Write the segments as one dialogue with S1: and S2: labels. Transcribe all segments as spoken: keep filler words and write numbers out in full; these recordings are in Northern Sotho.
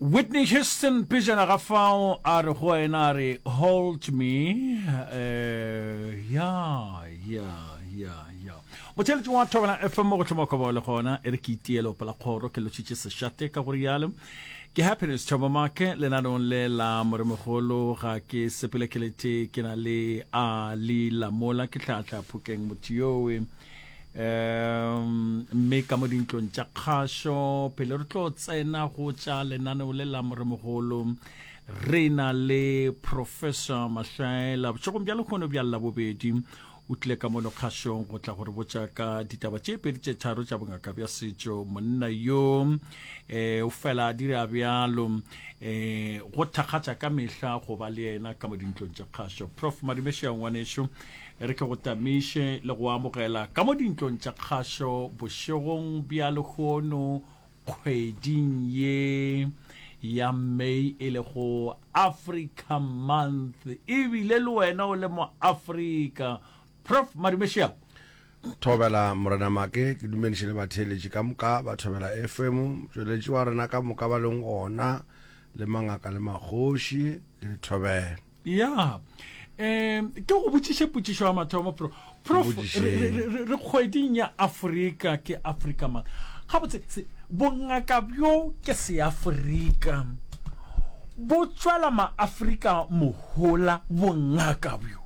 S1: Whitney Houston pejana ga fao a re go wena a re hold me eh ya ya ya ya motheletši wa Thobela F M mo go hloma kobo le gona e re ke itiele opela kgoro ke lotšitše sešate ka go rialo ke Happiness Thabo Make lenaneong le la moremogolo ga ke sepele ke lete ke na le a le lamola ke tlhatla phokeng motho yowe um mme ka mo dintlong tša kgašo pele re tlo tsena go tša lenaneo le la moremogolo re na le Professor Mahlaela bošegong bja lekgono bja Labobedi o tlile ka mono kgašong go tla go re botša ka ditaba tše pedi tše tharo tša bongaka bja setšo monna yo um o fela a dira bjalo um go thakgatša ka mehla go ba le yena ka mo dintlong tša kgašo Prof Madumešea ngwanešo re ke go tamiše le go amogela ka mo dintlong tša kgašo bošegong bja lehono kgweding ye ya May e lego Africa Month ebile le wena o le mo Afrika Prof Madumešea
S2: Thobela Morena Make ke dumediše le batheeletši ka moka ba Thobela F M motšweletši wa rena ka moka ba leng gona le mangaka le magoši ke le thobela
S1: ya um ke go botšiše potšišo ya mathomo prof prof re kgweding ya Afrika ke Africa Month gabotse bongaka bjo ke seafrika bo tšwela maafrika mohola bongaka bjo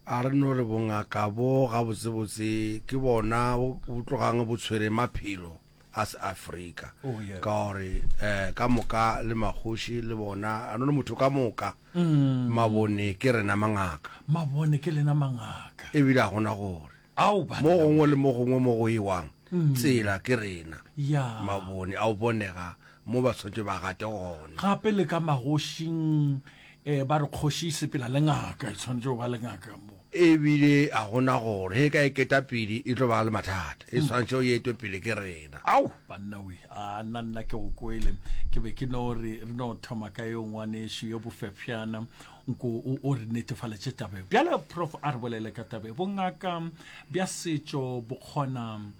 S2: a re no re bongaka bo gabotsebotse ke bona bo tlogang bo tshwere maphelo a se Afrika
S1: oh, yeah.
S2: ka gore eh, ka moka le magoši le bona a no le motho ka moka mm. mabone ke rena mangaka
S1: mabone ke lena mangaka
S2: ebile a gona gore
S1: ao
S2: mo gongwe le mo gongwe mo go ewang mm. tsela ke rena
S1: yeah.
S2: mabone a o bonega mo ba tshwanetse ba gate gona
S1: gape le ka magošing eh, ba re kgoši e sepela le ngaka e tshwanetse go ba le ngaka mo
S2: ebile a gona gore he ka e keta pele e tlo ba le mathata e tshwanetse o etwe pele ke rena
S1: ao banna we a nna nna ke go kwele ke be ke no re re no thoma ka yo ngwanešu yo bofefšana nko o re netefaletše tabe bjale prof a re bolele ka tabe bongaka bja setšo bo kgona um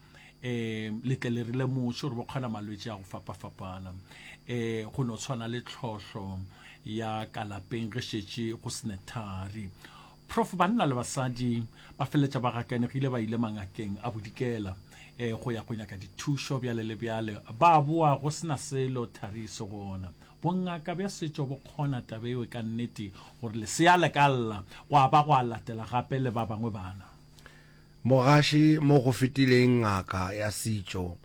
S1: letle le rile mošo gore bo kgona malwetši a go fapafapana um go no tshwana le tlhohlo ya ka lapeng ge šetše go sene thari prof banna le basadi ba feleletša ba gakanegile ba ile mangakeng a bodikela um go ya go nyaka dithušo bjale le bjale ba boa go sena selo thari se gona bongaka bja setšo bo kgona taba eo ka nnete gore lesea le ka lla go a ba go a latela gape le ba bangwe bana
S2: mogaši mo go fetileng ngaka ya setšo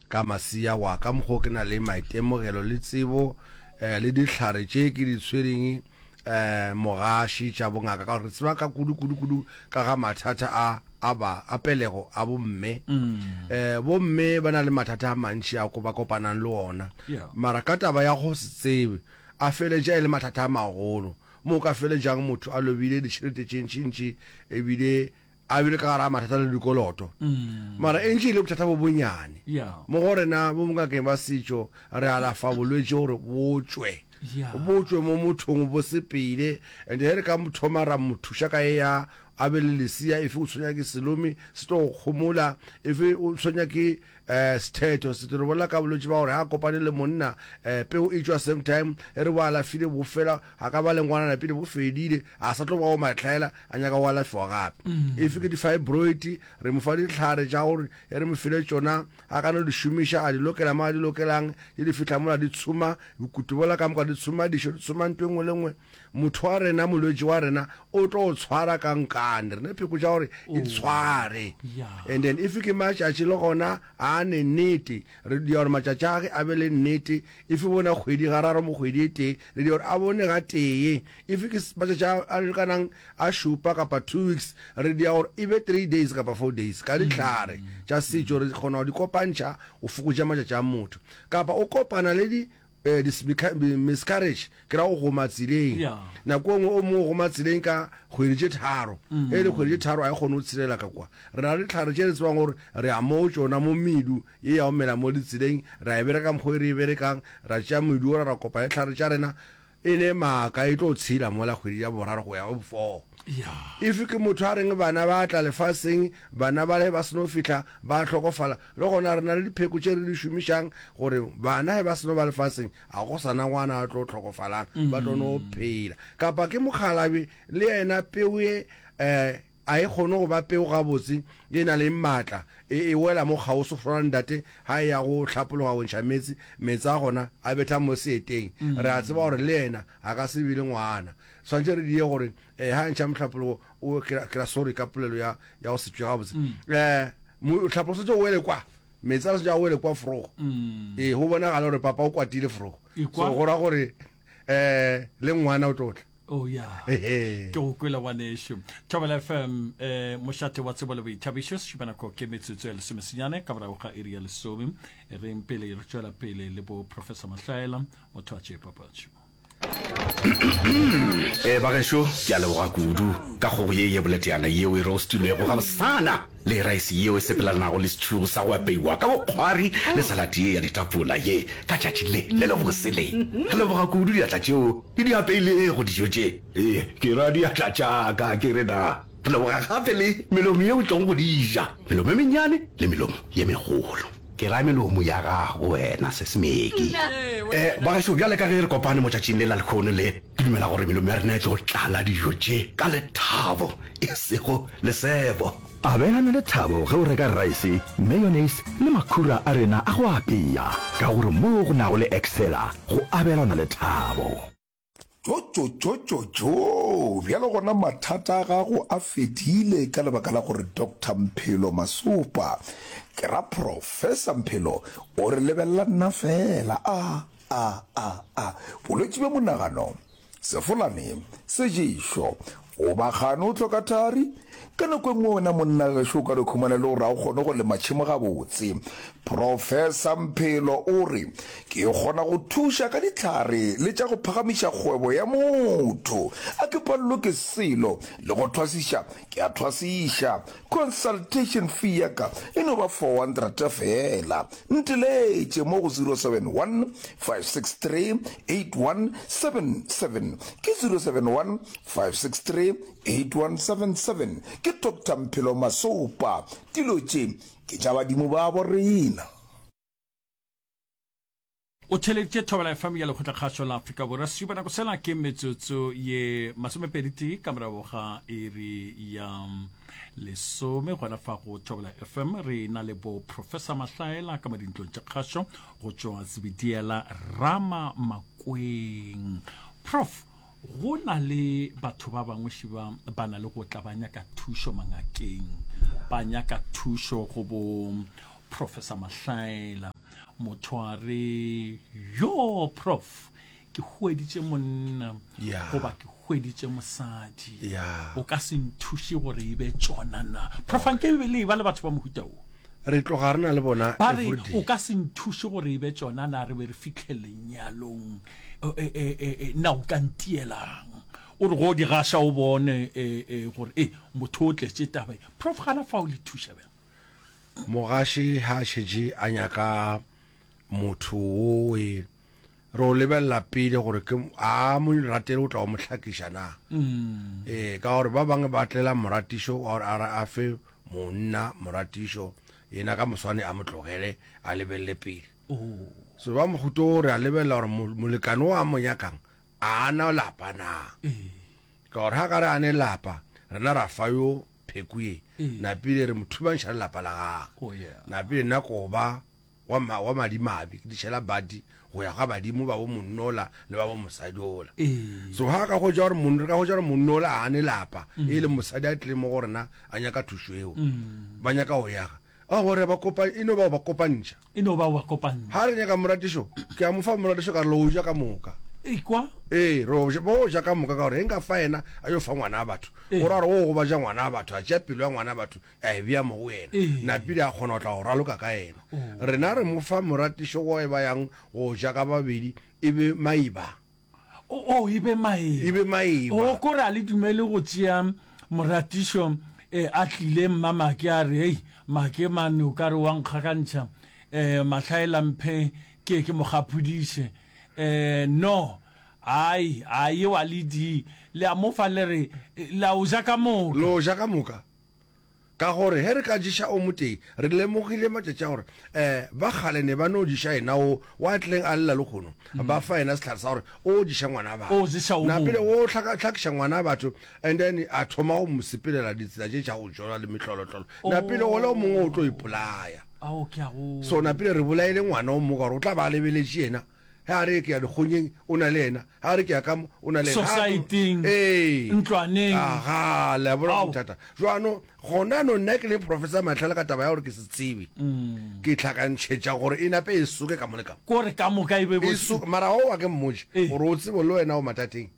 S2: ka masia wa ka mokgo ke na le maitemogelo le tsebo eh, le dihlare tše ke di tshwereng eh, mogaši tša bongaka ka gore re tseba ka kudu kudu kudu ka ga mathata a a ba a pelego a bomme mm. eh, bomme ba na le mathata a mantši a ko ba kopanang le ona
S1: yeah.
S2: mara ka taba ya go se tsebe a feletša e le mathata a magolo mo ka feletšang motho a lobile ditšhelete tše ntšintši ebile a bile ka gara mathata le dikoloto
S1: mm.
S2: mara e ntše e le bothata bo bonyane
S1: yeah.
S2: mo go rena bo bongakeng ba setšo re alafa bolwetši gore bo tšwe
S1: yeah.
S2: bo tšwe mo mothong bo sepele and ge re ka mo thoma ra mo thuša ka e ya a be le lesia efe o tshwenya ke selomi se tlo go kgomola efe o tshwenya ke um sethetho se re bolela ka bolwetši ba gore ga kopane le monna um peo e tšwa same time e re bo alafile bo fela ga ka ba le ngwanana pele bo fedile a sa tlo ba go matlhaela a nyaka go alafiwa gape efe ke di-fibroid re mo fa ditlhare tša gore e re mo file tšona a ka no di šomiša a di lokela mo a di lokelang di di fihla mola di tshuma bokutu bola ka moka di tshuma dišo di tshuma ntho e nngwe le nngwe motho wa rena molwetši wa rena o tlo tshwara ka nkane rena pheko tša gore e tshware
S1: Yeah.
S2: and then if ke matšatši le gona a ne nnete re dia gore matšatši a ge a be le nnete if bona kgwedi gararo mo kgwedi e tee re dia gore a bone ga tee if ke matšatši a a lekanang a šupa kapa two weeks re dia gore e be three days kapa four days ka ditlhare tša setšo re kgona go di kopantšha o fokotša matšatši a motho kapa o kopana le di eh, miscarriage ke ra go goma tseleng
S1: Yeah.
S2: nako e nngwe o mongwe o goma tseleng ka kgwedi tše tharo e le kgwedi tše tharo a e kgone go tshelela ka kwa re na le ditlhare tše re tsebang gore re ya mo tšona mo medu ye ya go mela mo ditseleng ra e bereka mokgwa e re e berekang ra tšea medu ora ra kopa ditlhare tša rena E ne maaka, e tlo tshela mola kgwedi ya boraro go ya go four. If ke motho a reng bana ba tla lefaseng, bana bale ba seno fihla ba hlokofala, le gona re na le dipheko tše re di šomišang gore bana ge ba seno ba lefaseng a go sa na ngwana a tlo hlokofalang, ba tlo no phela. Kapa ke mokgalabje le yena peu ye um a e kgone go ba peu gabotse e na le maatla, e, e wela mo kgauswi go swana le ntate ga e ya go hlapologa go ntšha meetse, meetse a gona a betha mo seeteng. Re a tseba gore le yena a ka se be le ngwana. Swanetše re die gore eh, ga a ntšha mohlapologo o, ke ra, ke ra sorry ka polelo ya, ya go se tšwe gabotse. Eh, mohlapologo swanetše o wele kwa, meetse a swanetše a wele kwa forogo. Ee, go bonagala gore papa o kwatile forogo.
S1: Ekwa.
S2: So go ra gore eh, le ngwana o tlo tla.
S1: Oh ya.
S2: Ehe.
S1: Ke go kwele ngwanešu. Thobela F M, eh, mošate wa tsebo le boithabišo, sešupanako ke metsotso ya lesomesenyane ka morago ga iri ya lesome. E reng pele re tšwela pele le bo Professor Mahlaela, motho wa tše papatšo.
S3: Eh, bagešo, ke a leboga kudu ka kgogo ye ye boleteana yeo e roastilwego gabosana le raese yeo e sepelelanago le setšhugo sa go apeiwa ka bokgwari le salate ye ya ditapola ye ka tšatši le le lebose le. Re leboga kudu diatla tšeo di di apeilego dijo tše. Ee, ke ra diatla tša ka, ke re na. Re leboga gape le melomo yeo e tlogo go di ja, melomo e mennyane le melomo ye megolo. Ke ra melomo ya gago wena, Sesemeki. Eh, bagešo, bjale ka ge re kopane mo tšatšing le la lehono le, ke dumela gore melomo ya rena e tlo tlala dijo tše ka lethabo, e sego lesebo.
S4: Abelana lethabo ge o reka raese, mayonnaise le makhura a rena a go apea, ka gore moo go nago le Excella go abelana lethabo.
S5: Tšotšotšotšotšo! Bjale gona mathata a gago a fedile ka lebaka la gore Doctor Mphelo Masopa, ke ra Professor Mphelo, o re lebelela nna feela. A, a, a, a. Bolwetši bja monagano, sefolane, seješo, goba kgane o hloka thari? Ka nako e nngwe wena monna gešo o ka no khumana e le gore ga o kgone go lema tšhemo gabotse. Professor Mphelo o re, Ke kgona go thuša ka dihlare le tša go phagamiša kgwebo ya motho. A ke palelwe ke selo, le go thwasiša ke a thwasiša. Consultation fee ya ka e no ba four hundred feela. Nteletše mo go zero seven one, five six three, eight one seven seven. Ke zero seven one, five six three, eight one seven seven. Ke Doctor Mphelo Masopa. Dilo tše ke tša badimo babo rena.
S1: O theeleditše Thobela F M ya Lekgotlakgašo la Afrika Borwa. Sešupanako sela ke metsotso ye masomepedi tee ka morago ga iri ya lesome gona fa go Thobela F M. Re na le bo Professor Mahlaela ka mo dintlong tša kgašo go tšwa Zebediela Rama Makweng. Prof, go na le batho ba bangwe šiba ba na le go tla ba nyaka thušo mangakeng, ba nyaka thušo go bo Professor Mahlaela. Motho a re, yo Prof, ke hweditše monna
S2: Yeah.
S1: goba ke hweditše mosadi,
S2: Yeah.
S1: o ka se nthuše gore e be tšona na? Prof, anke e be le e ba le batho ba mohuta wo.
S2: Re tloga re na le bona
S1: Ba re,
S2: everyday.
S1: o ka se nthuše gore e be tšona na, re be re fihle lenyalong, e, e, e, e, e, na o ka ntielang? O re go di gaša o bone e, e, gore e motho o tletše taba e. Prof, gana fao le thuša bjang?
S2: Mogaši ha a šetše a nyaka motho wo e re o lebelela pele gore ke a mo ratele o tla o mo hlakiša na. Ee, ka gore ba bangwe ba tlela moratišo wa gore a re a fe monna moratišo, yena ka moswane a mo tlogele a lebelele pele. So ba mohuta o re a lebelela gore molekane o a mo nyakang a na lapa na. Ka gore ha ka re a ne lapa, rena ra fa yo pheko ye, napile re mo thubantšha le lapa la gagwe.
S1: Oh, yeah.
S2: Napile nna ko ba wa ma, wa madimabe, ke dišela badi go ya ga badimo ba bo monnola le ba bo mosadiola.
S1: Ee.
S2: So ha ka hwetša gore mon, re ka hwetša gore monnola a ne lapa, e le mosadi a tlile mo go rena a nyaka thušo eo, ba nyaka go yaga. A gore ba kopa, e no ba ba kopantšha.
S1: E no ba ba kopantšha.
S2: Ha re nyaka moratišo, ke a mo fa moratišo ka re lo ja ka moka.
S1: Ekwa?
S2: Ee, re o ja, bo ja ka moka ka gore ge nka fa yena a yo fa ngwana wa batho,
S1: Ee.
S2: o ra gore o gobatša ngwana wa batho, a tšea pelo ya ngwana wa batho a e bea mo go yena.
S1: Ee.
S2: Napile a kgona go tla go raloka ka yena.
S1: Oh.
S2: Rena re mo fa moratišo wo e ba yang go ja ka babedi e be maiba.
S1: O, o, e be maeba.
S2: E be maeba.
S1: O, kore a le dumele go tšea moratišo, eh, a tlile Mmamake a re, Hei, Make mane o ka re wa nkgakantšha, eh, Mahlaela mphe ke ke mo gapodiše. Eh, no, Ai, a yeo a le di. Le a mo fa le re, le a o ja ka moka.
S2: Le o ja ka moka. Ka gore ge re ka ješa o motee, re lemogile matšatši a gore um ba kgale ne ba no ješa yena o wa tlileng a lla lehono, ba fa yena sehlare sa gore o ješa ngwana batho.
S1: O ješa o
S2: Na pele
S1: mongwe.
S2: o hlaka, hlakiša ngwana batho and then a thoma go mo sepelela ditsela tše tša go jola le mehlolohlolo. Na pele ola o mongwe o tlo ipolaya.
S1: Ao, ke a go.
S2: So na pele re bolaile ngwana o mongwe ka gore o tla ba a lebeletše yena. Ge a re ke ya dikgonyeng, o na le yena. Ge a re ke ya ka mo, o na le yena.
S1: Sosaeteng,
S2: Ee.
S1: ntlwaneng.
S2: Aga, le a bona
S1: Ao.
S2: bothata. Jwano, gona no nna ke le Professor Mahlale ka taba ya gore ke se tsebe. Ke hlakantšhetša gore e nape e soke ka mo le ka mo.
S1: Kore ka moka e be bo.
S2: E soke, mara o wa ke mmotše
S1: Ee.
S2: gore o tsebe le wena o mathateng.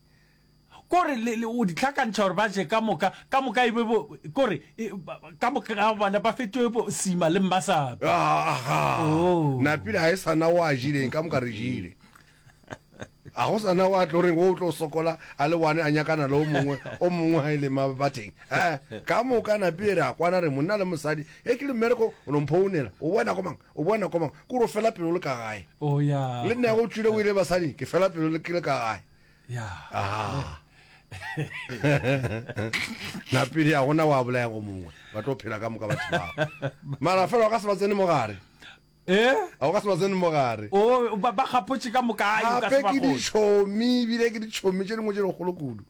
S1: Kore le, le, o di hlakantšha gore ba je ka moka, ka moka e be bo, kore e, ba, ka moka ga bona ba fetoge bo Sima le Mmasape.
S2: Ah, aga.
S1: Oh.
S2: Napile ga e sa na o a jileng, ka moka re jile. A go sa na o a tlo reng o tlo sokola a le one a nyakana le o mongwe, o mongwe ga e le mabateng. Eh, ka moka napile re a kwana re monna le mosadi, ge ke le mmereko o no mphounela, o boa nako mang, o boa nako mang, kore o fela pelo le ka gae.
S1: Oh, ya.
S2: Le nna go tšwile o ile basading, ke fela pelo le ke le ka gae.
S1: Ya.
S2: Ah. Napile a gona wa bolaya go mongwe, ba tlo phela ka moka batho bao. Mara fela o ka se ba tsene mogare.
S1: Eh?
S2: A o ka se ba tsene mogare.
S1: O ba ba gapotše ka moka ai o ka
S2: Gape
S1: se ba
S2: ke
S1: kgone.
S2: ditšhomi, ebile ke ditšhomi tše dingwe tše dikgolo kudu.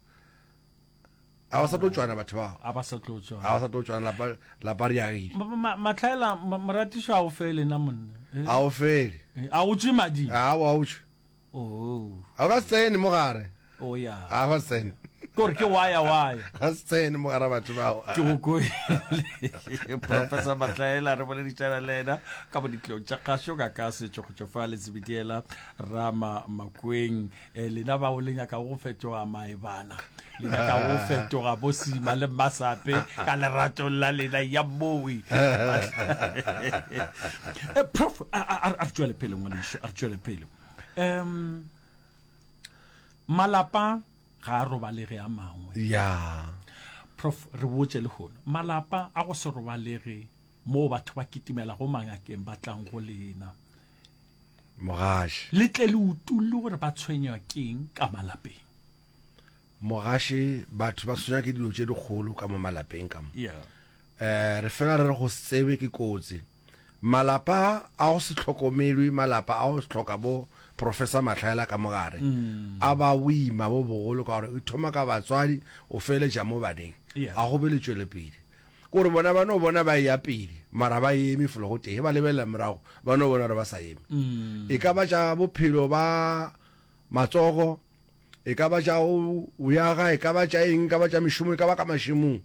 S2: A ba sa tlo tšwana batho bao.
S1: A ba sa tlo tšwana.
S2: A ba sa tlo tšwana lapa lapa re agile.
S1: Ma- ma- Matlhaela ma- moratišo a o fele na monna. Eh?
S2: A o fele.
S1: Eh, A o tšwe mading.
S2: A o tšwe.
S1: Oh.
S2: A ka se tsene mo gare.
S1: Oh ya.
S2: A ka se tsene.
S1: Kore ke waya waya.
S2: Ga se tsene mo gare batho bao.
S1: Ke go kwele. Professor Matlaela re boledišana le yena ka bo ditlong tša kgašo ka ka setšo go tšwa fa Letsebediela Rama Makweng. Eh, lena bao le nyakago go fetoga maebana, le nyaka go fetoga bo Sima le Mmasape ka leratong la lena ya mowe. Eh, Prof, a a- a re tšwele pele ngwanešu, a re tšwele pele. Um malapa ga a robalege a mangwe.
S2: Ya.
S1: Prof, re botše lehono, malapa a go se robalege moo batho ba kitimelago mangakeng ba tlang go lena.
S2: Mogaši.
S1: Le tle le utolle gore ba tshwenywa keng ka malapeng.
S2: Mogaši, batho ba tshwenywa ke dilo tše dikgolo ka mo malapeng ka mo.
S1: Yeah.
S2: Eh, re fela re re go se tsebe ke kotsi. Malapa a go se hlokomelwe, malapa a go hloka bo Professor Mahlaela ka mo gare, a ba boima bo bogolo ka gore e thoma ka batswadi o feletša mo baneng.
S1: Yeah.
S2: A go be le tšwelepele. Ke gore bona ba no bona ba eya pele, mara ba eme felo go tee. Ge ba lebelela morago, ba no bona gore ba sa eme. E ka ba tša bophelo ba matsogo, e ka ba tša go yaga, e ka ba tša eng, e ka ba tša mešomo, e ka ba ka mašemong.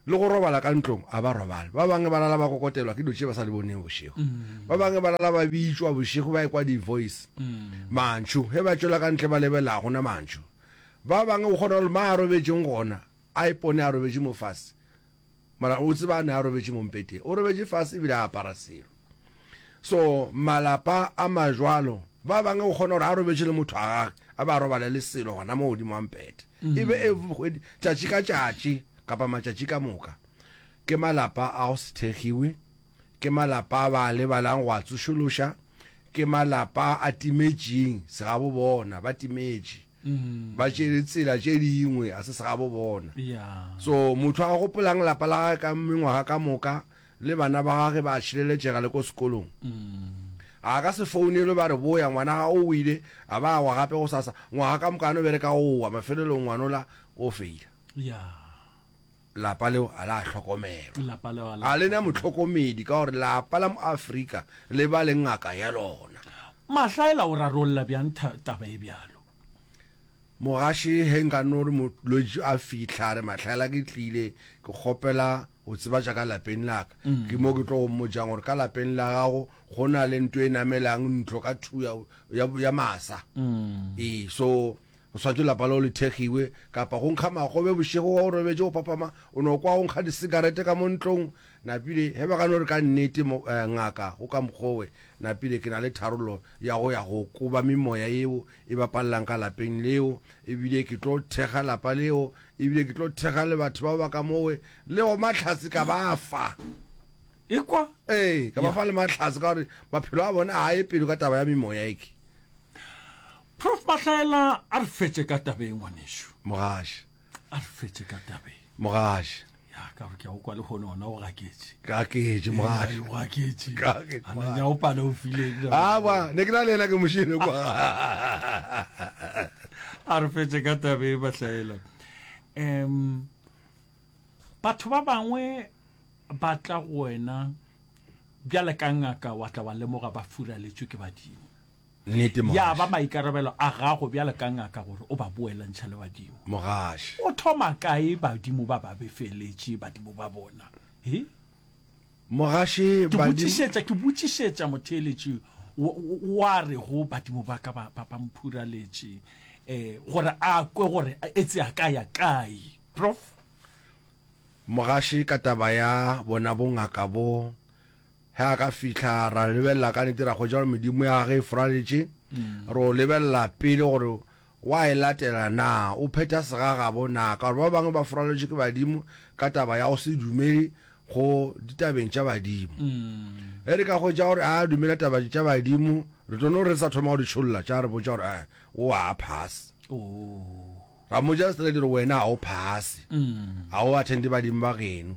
S2: Le go robala ka ntlong, a ba robale. Ba bangwe ba lala ba kokotelwa ke dilo tše ba sa di boneng bošego. Ba bangwe ba lala ba bitšwa bošego ba ekwa di-voice, mantšu. Ge ba tšwela ka ntle ba lebelela, ga gona mantšu. Ba bangwe o kgona gore ma a robetšeng gona, a ipone a robetše mo fase. Mara o tseba a ne a robetše mo mpeteng. O robetše fase ebile a apara selo. So malapa a majwalo, ba bangwe o kgona gore a robetše le motho wa gage, a ba a robale le selo gona mo godimo ga mpete. E be every kgwedi, tšatši ka tšatši kapa matšatši ka moka. Ke malapa a go se thekgiwe, ke malapa a ba a lebalang go a tsošološa, ke malapa a timetšeng segabo bona, ba timetše. Ba tšere tsela tše dingwe, a se segabo bona. So motho a gopolang lapa la gage ka mengwaga ka moka, le bana ba gage ba a tšhireletšega le ko sekolong. A ka se founelwe ba re boya, ngwana gago o wile, a ba a wa gape gosasa, ngwaga ka moka a no bereka go wa, mafelelong ngwanola o feila. Lapa leo a la hlokomelwa. A le na mohlokomedi ka gore lapa la Moafrika le ba le ngaka ya lona.
S1: Mahlaela o rarolla bjang taba e bjalo?
S2: Mogaši, ge nka no re molwetši a fihla a re Mahlaela ke tlile, ke kgopela go tseba tša ka lapeng la ka. Ke mo ke tlo go mmotšang gore ka lapeng la gago go na le nto e namelang ntlo ka two ya, ya, ya masa. Ee, so go swanetše lapa leo le thekgiwe. Kapa go nkga magobe bošego wa o robetše o phaphama, o no kwa go nkga disekarete ka mo ntlong. Napile, ge ba ka no re ka nnete mo, eh, ngaka, go ka mokgowe, napile ke na le tharollo ya go ya go koba memoya yeo e bapalelang ka lapeng leo, ebile ke tlo thekga lapa leo, ebile ke tlo thekga le batho bao ba ka mowe, le go mahlatse ka ba fa.
S1: Ekwa?
S2: Ee, ka ba fa le mahlatse ka gore maphelo a bona a ye pele ka taba ya memoya eke.
S1: Prof Mahlaela a re fetše ka tabeng ngwanešu.
S2: Mogaši.
S1: A re fetše ka tabeng.
S2: Mogaši.
S1: Ya ka gore ke a go kwa le kgone ona o gaketše.
S2: Gaketše mogaši.
S1: O gaketše.
S2: Gaketše.
S1: A na o pale o file.
S2: A ba ne ke na le yena ke mošile kwa.
S1: A re fetše ka tabeng Mahlaela. Um batho ba bangwe ba tla go wena bjale ka ngaka wa tla wa lemoga ba furaletšwe ke badimo.
S2: Nnete,
S1: Ya
S2: mogaši.
S1: ba maikarabelo a gago bjalo ka ngaka gore o ba boelantšha le badimo.
S2: Mogaši.
S1: O thoma kae badimo ba ba befeletše badimo ba bona? He?
S2: Mogaši,
S1: Ke
S2: badimo.
S1: botšišetša, ke botšišetša motheeletši wa, wa rego badimo ba ka ba, ba, ba mphuraletše, eh, gore a kwe gore etse a ka ya kae. Prof.
S2: Mogaši, ka taba ya bona bongaka bo, Ge a ka fihla, ra lebelela ka nnete ra hwetša gore medimo ya gagwe e furaletše. Re o lebelela pele gore wa e latela na, o phetha segagabo na, ka gore ba bangwe ba furaletšwe ke badimo ka taba ya go se dumele go ditabeng tša badimo. Ge re ka hwetša gore a dumela taba tša badimo, re tlo no re sa thoma go di tšholla tša re botša gore eh, o a phase. Ra mmotša straight gore wena ga o phase, ga o attende badimo ba geno.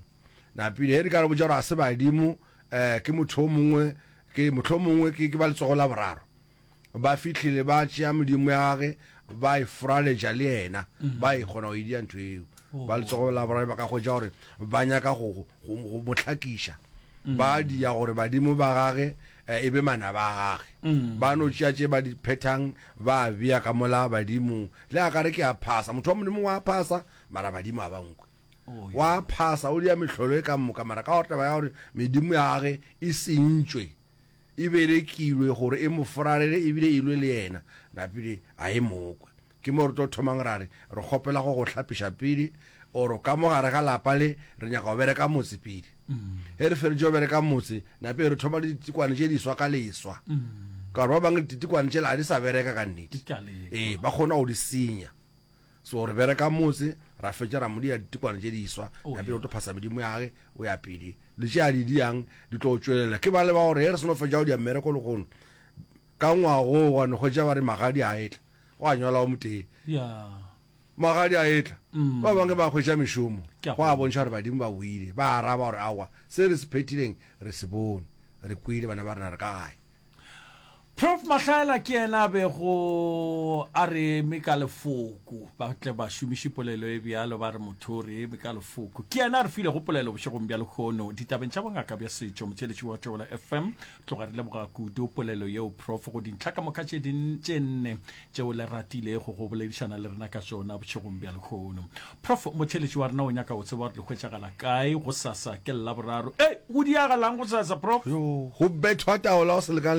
S2: Napile ge re ka re botša gore ga se badimo, um ke motho o mongwe, ke mohlomongwe ke, ke ba letsogo la boraro. Ba fihlile ba tšea medimo ya gage ba e furaletša le yena, ba e kgona go e dia ntho eo. Ba letsogo la boraro ba ka hwetša gore ba nyaka go, go, go mo hlakiša. Ba dia gore badimo ba gage e be manaba a gage. Ba no tšea tše ba di phethang ba bea ka mola badimong. Le a ka re ke a phasa, motho wa Modimo wa phasa, mara badimo ga ba nkwe. Wa phasa, o dia mehlolo e ka moka, mara ka gore taba ya gore medimo ya gage e sentšwe, e berekilwe gore e mo furalele ebile e lwe le yena, napile a e mo kwe. Ke mo re tlo thomang ra re, re kgopela go go hlapiša pele, or ka mo gare ga lapa le, re nyaka go bereka motse pele. Ge re feditše go bereka motse, napile re thoma le ditikwane tše diswa ka leswa. Ka gore ba bangwe ditikwane tšela ga di sa bereka ka nnete. Ee, ba kgona go di senya. So re bereka motse, ra fetša ra mo dia ditikwana tše diswa,
S1: Oh,
S2: ya pele
S1: yeah.
S2: o tlo phasa medimo ya gage, o ya pele. Le tše a di diang di tlo tšwelela. Ke ba le ba gore ge re seno fetša go dia mmereko lehono, ka ngwagoo wa no hwetša ba re magadi a etla, gwa nyala o motee.
S1: Yeah.
S2: Magadi a etla,
S1: Mm.
S2: ba bangwe ba hwetša mešomo,
S1: Ke a
S2: gwa
S1: go.
S2: bontšha gore badimo ba boile. Ba araba gore aowa, se re se phethileng re se bone, re kwele bana ba rena re ka gae.
S1: Prof Mahlaela ke yena a bego a re eme ka lefoko, ba tle ba šomiše polelo e bjalo, ba re motho o re eme ka lefoko. Ke yena a re filego polelo bošegong bja lehono ditabeng tša bongaka bja setšo. Motheeletši wa Thobela F M, tloga re leboga kudu polelo yeo Prof go dintlha ka moka tše tše nne tšeo le ratilego go boledišana le rena ka tšona bošegong bja lehono. Prof motheeletši wa rena o nyaka go tseba gore le hwetšagala kae gosasa ke Laboraro. Ei, go diagalang gosasa Prof?
S2: Yo, go bethwa taola go se lekane